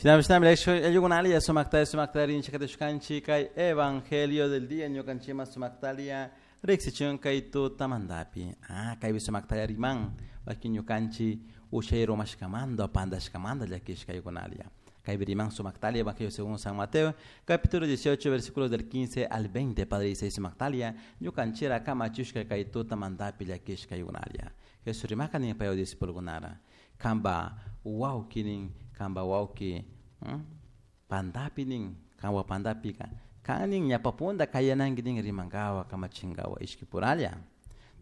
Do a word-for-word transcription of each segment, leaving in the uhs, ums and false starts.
Shinami sumaktalia sumaktaria chakatishkanchik kay evangelio del día ñukanchikman sumaktalia riksichun kay tutamantapi. Ah, kaypi sumaktalia riman wakin ñukanchik ushay rumashkamanta pantashkamanta llakishkaykunalia. Kaypi riman sumaktalia evangelio según San Mateo capítulo dieciocho versículos del quince al veinte. Padre dice sumaktalia ñukanchira kamachushka kay tutamantapi llakishkaykunalia. Jesús rimaka nin paywan discípulokunara kanpa wawki nin kanpa wawki Hmm? Pantapi nin kanwa pantapika kan nin ñapapunta kayananki nin rimankawa kamachinkawa ishkipuralla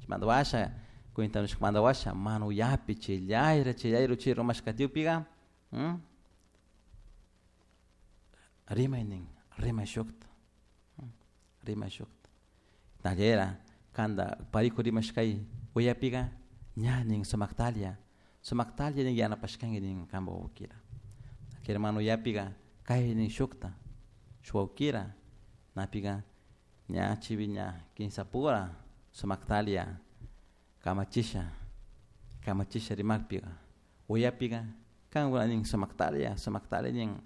chaymanta washa cuentanushkamanta washa manuyapi chillayra chillayra chay rumashkatiyupika hmm? Rimay nin rimay shukta hmm? Rimay shukta tallera kanta pariku rimashkay uyapika ña nin sumaktalia sumaktalia nin yanapashkanki nin kanpa wawkira hermano yapiga kay nin shukta shuwawkira napiga ña chivi ña kinsapura sumaktalia kamachisha kamachisha rimakpiga uyapiga kankuna nin sumaktalia sumaktalia nin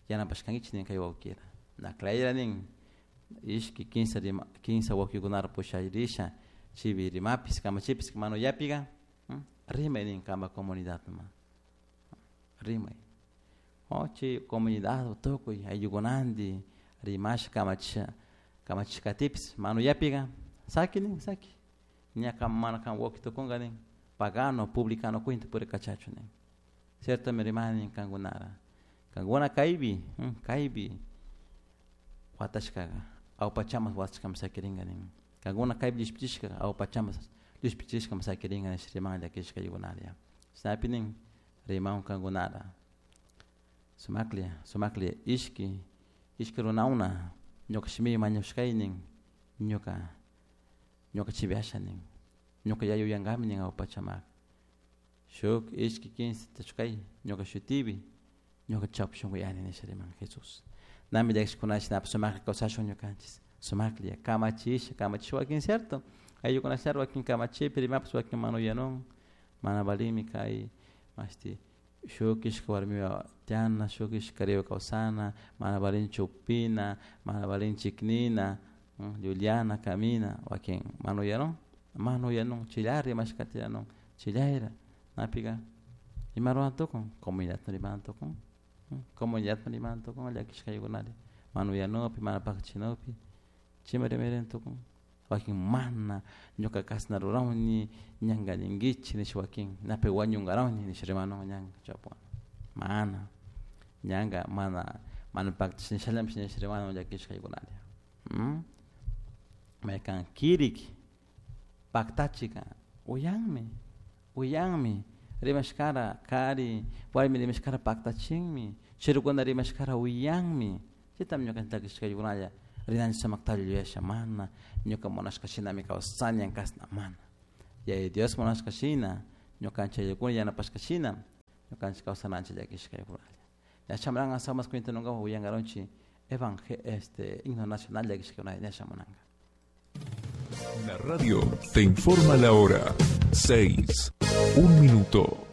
yanapashkankichik nin kay wawkira naklayra nin ishki kinsa rima kinsa wawkikunara pusharisha chivi rimapis kamachipis mano yapiga hmm? Rimay nin kanpa comunidadman rimay chay comunidad tukuy ayllukunanti rimasha kamachisha kamachishkatipis manuyapiga saki nin saki ña mana kan wawki tukunka nin pagano publicano cuenta purikachachu nin cierto mi rimani nin kankunara kankuna kaypi hmm, kaypi watashkaqa awpachamas watashkami sakirinka nin kankuna kaypi llushpichishka awpachamas llushpichishkami sakirinka nish riman llakishkaykunaria chaypi nin riman kankunara sumaklia sumaklia ishki ishki runawna ñuka shimi mañushkay nin ñuka ñuka chivyasha nin ñuka yayuyankami nin awpachamak shuk ishki kinsa tachkay ñuka shutipi ñuka chawpi shunkuyani nisha riman Jesús nami llakishkunash napi sumaklla kawsashun ñukanchis sumaklla kamachisha kamachisha wakin cierto ayllukunashar wakin kamachipi rimapas wakin manuyanun mana valimi kay mashti shuk ishka warmiwa tiana shuk ishka kariwa kawsana mana valinchu upina mana valin chiknina llullana kamina wakin manuyanun manuyanun chillara rimashkatiranun chillayra napika ima ruwan tukun comunidadman riman tukun comunidadman riman tukun llakishkaykunari manuyanupi mana pakchinupi chima rimarin tukun wakin mana ñuka kasna rurawni ñanka ninkichik nish wakin napi wañunkarawni nish rimanun ñanka chawpuwan mana ñanka mana mana paktash nishallapish nish rimanun llakishkaykunaria hmm? Maykan kirik paktachika uyanmi uyanmi rimashkara kari warmi rimashkara paktachinmi chirukuna rimashkara uyanmi chaytami ñukanchik llakishkaykunalla rinanchik sumaktalla yuyasha mana ñuka munashka shinami kawsani kasna mana Yaya Dios munashka shina ñukanchik ayllukuna yanapashka shina ñukanchik kawsananchik llakishkaykunalla ña chamuranka samas cuentanunkapak uyankarunchik evangel este himno nacional llakishkaykunalla ña shamunanka. La radio te informa la hora seis, un minuto.